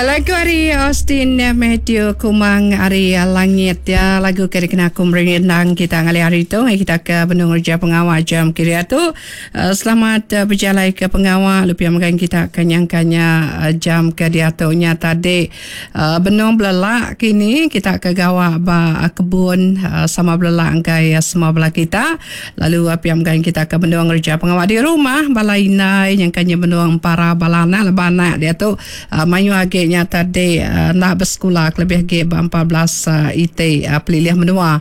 Lagu ari Austin Matthew Kumang ari Langit ya lagu ke dikena aku merindang kita ngalih hari tu ngai kita ke benung ngereja pengawa jam kira tu selamat bejalai ke pengawa lalu pia mega kita ke nyangka nya jam ke diatu nya tadi benung belelak kini kita ke gawa ba kebun sama belelak enggai semua bala kita. Lalu pia mega kita ke benung ngereja pengawa di rumah bala indai nyangka nya benung empara bala anak lebuh anak diatu mayuh agi nya tadi enda besekula kelebih agi ba 14 iti pelilih menua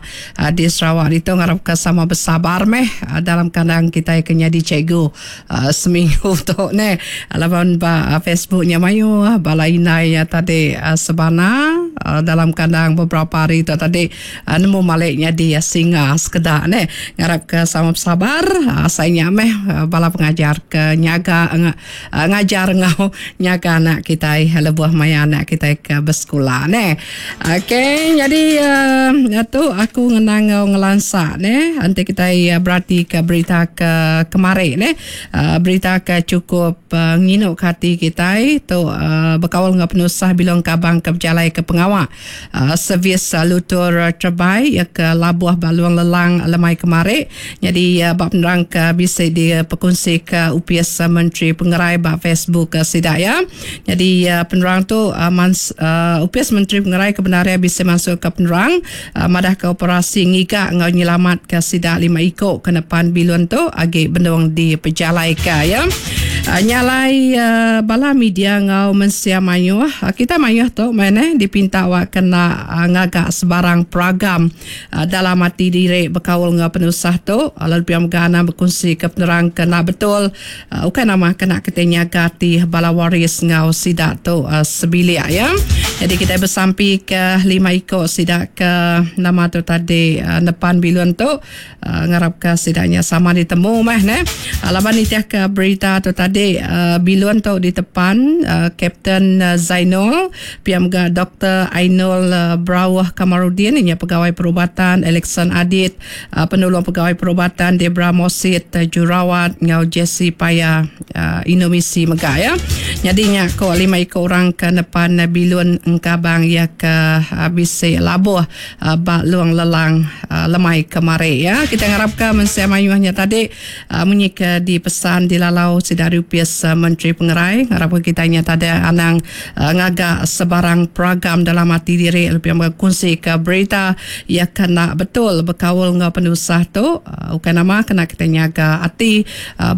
di Sarawak ditu ngarapka sama besabar meh dalam kandang kitai ke nyadi cikgu seminggu tu neh laban ba Facebook nya mayuh bala indai nya tadi sebana dalam kandang beberapa hari tu tadi. Nemu malik nyadi singa sekeda neh. Ngarap ke sama besabar asai nya meh bala pengajar ke nyaga ngajar enggau nyaga anak kitai lebuh maya anak kitai ke besekula neh. Okey nyadi tu aku ngenang enggau ngelansa neh enti kitai berati ke berita ke kemari neh berita ke chukup nginu ke ati kitai tu bekaul enggau penusah Bilong Kabang ke bejalai ke pengawa. Servis lutur terebai iya ke labuh ba Luang Lelang lemai kemari nyadi ba penerang ke bisi dipekunsika Opis Menteri Pengerai ba Facebook sida iya. Nyadi penerang tu Opis Menteri Pengerai ke bendar iya bisi mansutka penerang madahka operasi ngiga enggau nyelamatka sida lima iku ke nepan bilun tu agi benung dipejalaika iya. Nya alai bala media enggau mensia mayuh kita mayuh tu meh neh dipinta wak kena ngaga sebarang peragam dalam ati diri bekaul enggau penusah tu lalu pia mega anang bekunsika penerang ke enda betul ukai nama kena kitai nyaga ati bala waris enggau sida tu sebilik iya. Jadi kitai besampika lima iku sida ke nama tu tadi nepan bilun tu. Ngarapka sida nya sama ditemu meh neh. Laban nitihka berita tu tadi bilun tu ditepan Kapten Zainul pia mega Doktor Ainul Brauh Kamarudin inya pegawai perubatan Alexon Adit penulung pegawai perubatan Debra Mosit Jurawat enggau Jesse Paya Indomisi mega ya. Nyadi nya ko lima iku orang ke nepan bilun engkabang iya ke bisi labuh ba Long Lelang lemai kemari ya. Kita ngarapka mensia mayuh nya tadi munyi ke dipesan dilalau sida ari Opis Menteri Pengerai ngarapka kita nya tadi anang ngaga sebarang peragam dalam ati diri lebih mega kunsika berita iya ke enda betul bekaul enggau penusah tu ukai nama kena kita nyaga ati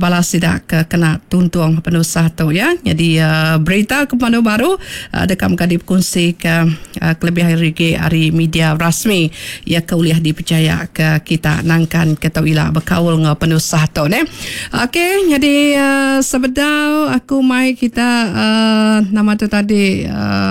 bala sida ke kena tuntung penusah tu ya. Nyadi berita ke pemadu baru deka mega dikunsika Kelebih ari agi ari media rasmi iya ke ulih dipechaya ke kita nangkan ke tau ila bekaul enggau penusah tu neh. Okey nyadi sebedau aku mai kita nama tu tadi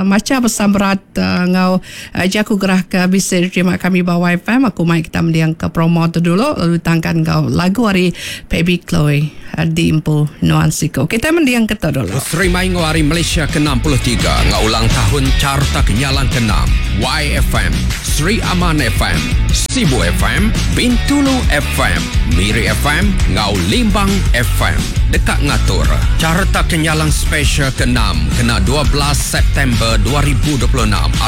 macha pesan berat enggau jaku gerah ke bisi diterima kami ba WiFi aku mai kita mending ke promo tu dulu lalu ditangkan enggau lagu ari Phoebe Chloe. Di empu nuan siku. Kitai mending ke tu dulu. Sri Maingo ari Malaysia ke 63 enggau ulang tahun Carta Kenyalang ke enam, YFM, Sri Aman FM, Sibu FM, Bintulu FM, Miri FM enggau Limbang FM deka ngatur Carta Kenyalang Special ke enam kena 12 September 2026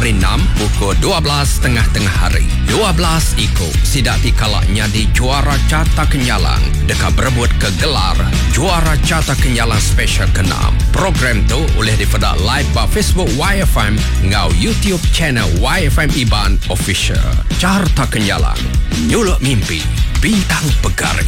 ari enam pukul 12 tengah-tengah hari. 12 iku sida ti kala nyadi juara Carta Kenyalang deka berebut ke gelar Juara Carta Kenyalang Special Keenam. Program tu ulih dipeda live ba Facebook YFM enggau YouTube channel YFM Iban Official. Carta Kenyalang, nyuluk mimpi, bintang pegari.